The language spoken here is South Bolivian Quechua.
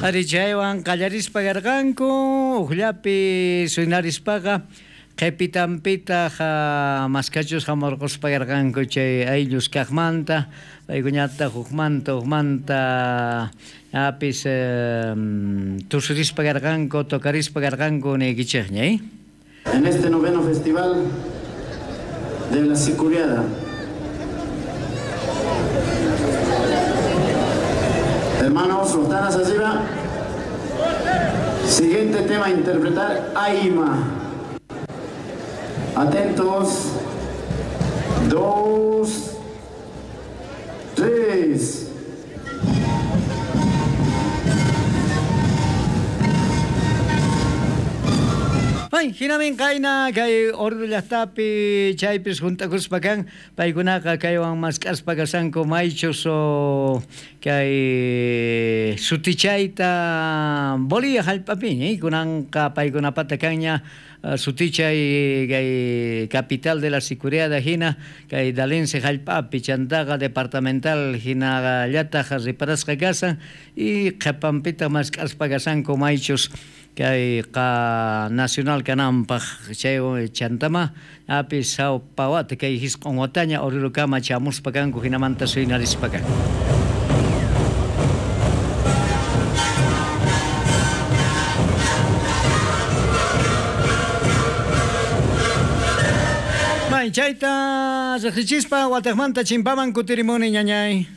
Ari chaywan qallarispa karqanku ujllapi suynarispaqa qhipitanpitaq maskachus hamurquspa karqanku chay ayllus kaqmanta paykuñataq hukmanta hukmanta apis tusurispa karqanku tocarispa karqanku niykichikña. En este noveno festival de la Sicuriada. Hermanos, Rotanas arriba. Siguiente tema a interpretar, Aima. Atentos. 2, 3. Ay, hinamin qayna kay Oruro llaqtapi chaypis juntakuspa kan paykunaqa kaywan mask'aspa kashanku maychus kay sutichayta Bolivia hallp'apiña kunanqa paykunapata kanña sutichay kay capital de la Sicuriada hina kay Dalense hallp'api chantaqa departamental hinallataq reparasqa kasan y qhipanpitaq mask'aspa kashanku maychus kay qa nacional kananpaq chay chantama apis sawpa wata kay hisq'un wataña Orurukama chamuspa kanku hinamanta suynarispa kanku. Chayta riqsichispa wataqmanta chimpaman kutirimuni ñañay.